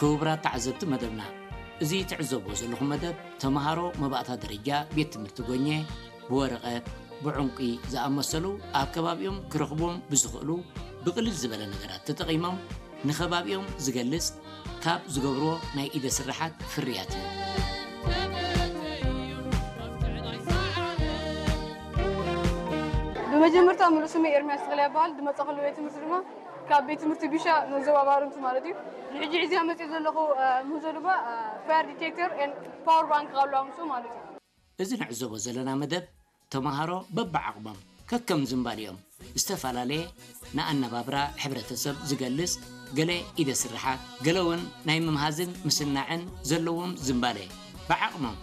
ክቡራት ተዓዘብቲ መደብና፣ እዚ ትዕዘብዎ ዘለኹም መደብ ተምሃሮ መባእታ ደረጃ ቤት ትምህርቲ ጎኘ ብወረቐት፣ ብዕንቂ ዝኣመሰሉ ኣብ ከባቢኦም ክረኽብዎም ብዝኽእሉ ብቕልል ዝበለ ነገራት ተጠቒሞም ንኸባቢኦም ዝገልጽ ካብ ዝገብርዎ ናይ ኢደ ስራሓት ፍርያት እዩ። ብመጀመርታ ምሉእ ስመይ ኤርሚያስ ተኽለ ይበሃል። ዝመጻእኩሉ ቤት ትምህርቲ ድማ ካብ ቤት ትምህርቲ ቢሻ መዘባባርንቱ ማለት እዩ። ንሕጂ ሒዝያ መጽእ ዘለኹ ምህዞ ድማ ፋየር ዲቴክተር ኤን ፓወር ባንክ ካብ ኣለዋ ምስኡ ማለት እዩ። እዚ ንዕዘቦ ዘለና መደብ ተምሃሮ በብዓቕሞም ከከም ዝንባሊኦም ዝተፈላለየ ንኣነባብራ ሕብረተሰብ ዝገልጽ ገለ ኢደ ስርሓት ገለ እውን ናይ ምምሃዝን ምስናዕን ዘለዎም ዝንባሌ ብዓቕሞም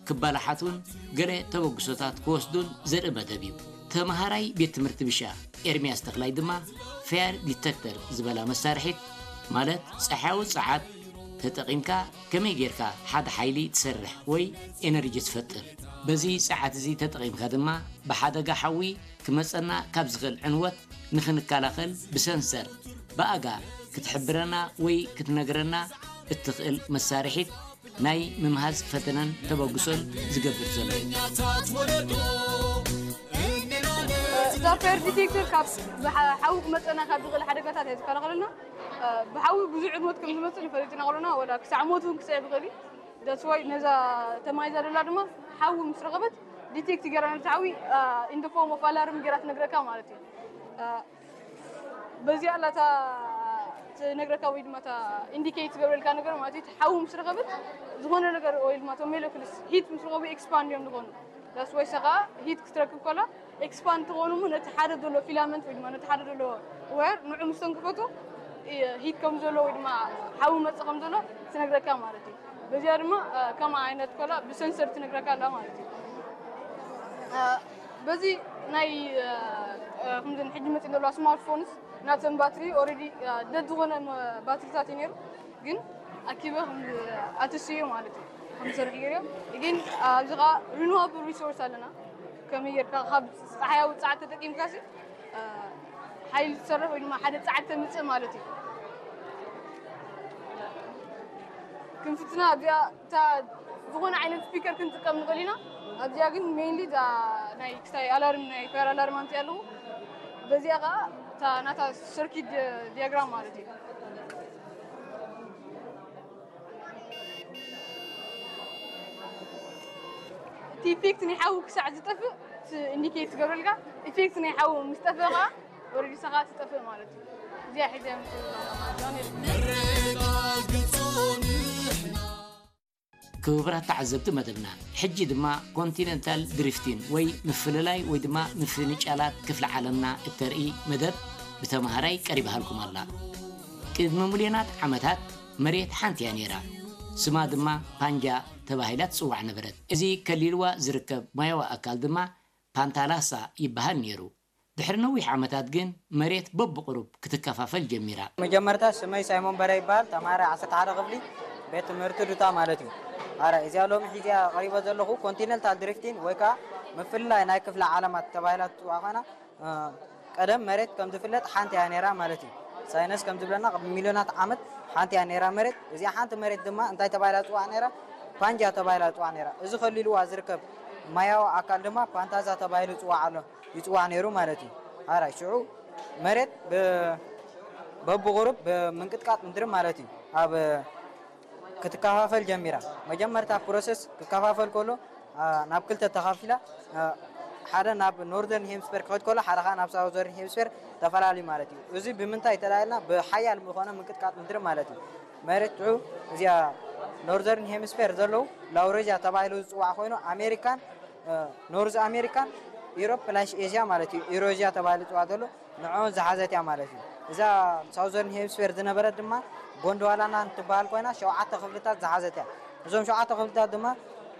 ክባላሓት እውን ገለ ተበግሶታት ክወስዱን ዘርኢ መደብ እዩ። ተምሃራይ ቤት ትምህርቲ ብሻ ኤርሚያስ ተኽላይ ድማ ፌር ዲተክተር ዝበላ መሳርሒት ማለት ፀሓያዊ ፀዓት ተጠቒምካ ከመይ ጌርካ ሓደ ሓይሊ ትሰርሕ ወይ ኤነርጂ ትፈጥር። በዚ ፀዓት እዚ ተጠቒምካ ድማ ብሓደጋ ሓዊ ክመፀና ካብ ዝኽእል ዕንወት ንኽንከላኸል ብሰንሰር ብኣጋ ክትሕብረና ወይ ክትነግረና እትኽእል መሳርሒት ናይ ምምሃዝ ፈተነን ተበግሶን ዝገብር ዘሎ እዩ። እዛ ፌር ዲቴክተር ካብ ሓዊ ክመፀና ካብ ዝኽእል ሓደጋታት እያ ዝከላኸለልና። ብሓዊ ብዙሕ ዕንወት ከም ዝመፅእ ንፈልጥ ኢና ከለና ወላ ክሳዕ ሞት እውን ክስዕብ ይኽእል እዩ። ዳትስ ዋይ ነዛ ተማሂዛ ዘላ ድማ ሓዊ ምስ ረኸበት ዲቴክት ገይራ ነቲ ሓዊ ኢን ፎርም ኦፍ ኣላርም ገይራ ትነግረካ ማለት እዩ። በዚኣ ኣላ እታ ትነግረካ ወይ ድማ እታ ኢንዲኬት ትገብረልካ ነገር ማለት እዩ። ሓዊ ምስ ረኸበት ዝኾነ ነገር ወይ ድማ ቶም ሞለኩልስ ሂት ምስ ረኸቡ ኤክስፓንድ እዮም ዝኾኑ። ዳትስ ዋይ ሰኻ ሂት ክትረክብ ከላ ኤክስፓንድ ትኾኑ እሞ ነቲ ሓደ ዘሎ ፊላመንት ወይ ድማ ነቲ ሓደ ዘሎ ዋየር ንዑ ምስ ተንክፈቱ ሂት ከም ዘሎ ወይ ድማ ሓዊ መጽእ ከም ዘሎ ትነግረካ ማለት እዩ። በዚኣ ድማ ከም ዓይነት ኮላ ብሰንሰር ትነግረካ ኣላ ማለት እዩ። በዚ ናይ ከምዚ ሕጂ መፅእ ዘለዋ ስማርትፎንስ ናተን ባትሪ ኦልሬዲ ደድ ዝኾነ ባትሪታት እዩ ነይሩ፣ ግን ኣኪበ ኣትስዮ ማለት እዩ ከምሰርሕ ገይርዮ። ግን ኣብዚ ከዓ ሪኒዋብል ሪሶርስ ኣለና። ከመይ ጌርካ ካብ ፀሓያዊ ፀዓት ተጠቂምካ ሓይሊ ትሰርሕ ወይ ድማ ሓደ ፀዓት ተምፅእ ማለት እዩ። ክንፍትና ኣብዚኣ እታ ዝኾነ ዓይነት ስፒከር ክንጥቀም ንኽእል ኢና። ኣብዚኣ ግን ሜይንሊ እዛ ናይ ክሳይ ኣላርም ናይ ፋየር ኣላርም ኣምፅእ ኣለኹ። በዚኣ ከዓ እታ ናታ ሰርኪት ዲያግራም ማለት እዩ። እቲ ኢፌክት ናይ ሓዊ ክሳዕ ዝጠፍእ ኢንዲኬት ትገብረልካ። ኢፌክት ናይ ሓዊ ምስ ጠፍእ ከዓ ወረዲ ሰኻ ትጠፍእ ማለት እዩ። እዚኣ ሒዘ ክቡራት ተዓዘብቲ መደብና፣ ሕጂ ድማ ኮንቲነንታል ድሪፍቲን ወይ ምፍልላይ ወይ ድማ ምፍንጫላት ክፍሊ ዓለምና እተርኢ መደብ ብተምሃራይ ቀሪባሃልኩም ኣላ። ቅድሚ ሚልዮናት ዓመታት መሬት ሓንቲ እያ ነይራ። ስማ ድማ ፓንጃ ተባሂላ ትጽዋዕ ነበረት። እዚ ከሊልዋ ዝርከብ ማያዊ ኣካል ድማ ፓንታላሳ ይበሃል ነይሩ። ድሕሪ ነዊሕ ዓመታት ግን መሬት በብቕሩብ ክትከፋፈል ጀሚራ። መጀመርታ ስመይ ሳይሞን በረ ይበሃል። ተማሃራይ ዓሰርተ ሓደ ክፍሊ ቤት ትምህርቲ ዱታ ማለት እዩ። ኣረ እዚኣ ሎሚ ሒዚኣ ቀሪበ ዘለኹ ኮንቲነንታል ድሪፍቲን ወይ ከዓ ምፍልላይ ናይ ክፍለ ዓለማት ተባሂላ ትፅዋዕ ኮይና ቀደም መሬት ከም ዝፍለጥ ሓንቲ እያ ነይራ ማለት እዩ። ሳይንስ ከም ዝብለና ቅድሚ ሚልዮናት ዓመት ሓንቲ እያ ነይራ መሬት። እዚኣ ሓንቲ መሬት ድማ እንታይ ተባሂላ ትፅዋዕ ነይራ? ፓንጃ ተባሂላ ትፅዋዕ ነይራ። እዚ ከሊልዋ ዝርከብ ማያዊ ኣካል ድማ ፓንታዛ ተባሂሉ ይፅዋዕ ኣሎ ይፅዋዕ ነይሩ ማለት እዩ። ኣራይ ሽዑ መሬት በብቁሩብ ብምንቅጥቃጥ ምድሪ ማለት እዩ ኣብ ክትከፋፈል ጀሚራ። መጀመርታ ፕሮሰስ ክከፋፈል ከሎ ናብ ክልተ ተኸፊላ ሓደ ናብ ኖርዘርን ሄምስፌር ክኸድ ከሎ ሓደ ከዓ ናብ ሳውዘርን ሄምስፌር ተፈላለዩ ማለት እዩ። እዚ ብምንታይ ተላልና ብሓያል ዝኾነ ምንቅጥቃጥ ምድሪ ማለት እዩ። መሬት ትዑ እዚኣ ኖርዘርን ሄምስፌር ዘለዉ ላውሬዥያ ተባሂሉ ዝፅዋዕ ኮይኑ ኣሜሪካን ኖርዝ ኣሜሪካን ኢሮፕ ፕላሽ ኤዥያ ማለት እዩ። ኢሮዥያ ተባሂሉ ዝፅዋዕ ዘሎ ንዕኦን ዝሓዘት እያ ማለት እዩ። እዛ ሳውዘርን ሄምስፌር ዝነበረት ድማ ጎንድዋላና እንትበሃል ኮይና ሸውዓተ ክፍልታት ዝሓዘት እያ። እዞም ሸውዓተ ክፍልታት ድማ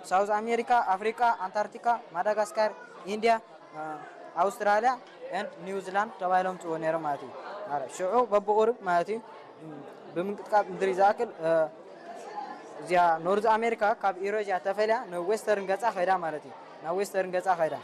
ሳውዝ ኣሜሪካ፣ ኣፍሪቃ፣ ኣንታርክቲካ፣ ማዳጋስካር፣ ኢንድያ፣ ኣውስትራልያ ኤንድ ኒውዚላንድ ተባሂሎም ፅዎ ነይሮም ማለት እዩ። ሽዑ በብቁሩብ ማለት እዩ ብምንቅጥቃጥ ምድሪ ዝኣክል እዚኣ ኖርዝ ኣሜሪካ ካብ ኢሮዥያ ተፈልያ ንዌስተርን ገፃ ከይዳ ማለት እዩ። ናብ ዌስተርን ገፃ ከይዳ